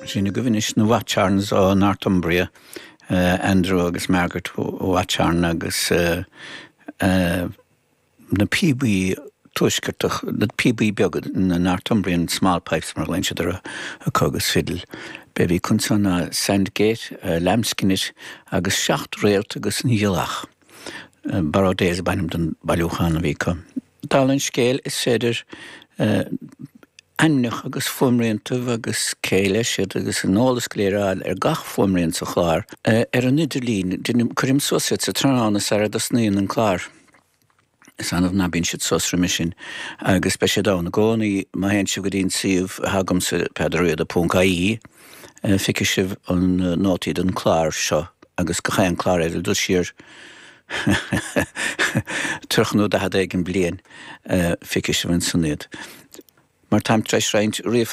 Sin agaibh anois na Watchorns ó Northumbria, Andrew agus Margaret Watchorn agus na píobaí tuaisceartach, na píobaí beaga, na Northumbrian small pipes mar a ghlaonn siad orthu, acu agus fidil. B'é a bhí acu ansan ná Sandgate, Lambskin It agus Seacht Réalt agus an Ghealach. Barrow Days ab ainm don bailiúchán a bhí acu. Dála an scéil, is féidir ainmneacha agus fuaimriantaibh agus cé leis iad agus an eolas go léir a fháil ar gach fuaimrian sa chlár ar an idirlíon. Cuirim suas iad sa tráthnóna sara dtosnaíonn an clár. Is annamh ná bíonn siad suas roimhe sin agus beidh siad ann i gcónaí má théann sibh go dtí an suíomh atá agamsa, peadarriada ponc ie, feicfidh sibh an nótaí don chlár seo agus gach aon clár eile dul siar 30 nó 40 éigin bliain, feicfidh sibh ansan iad. Mar táim tar éis roinnt ríomhphost.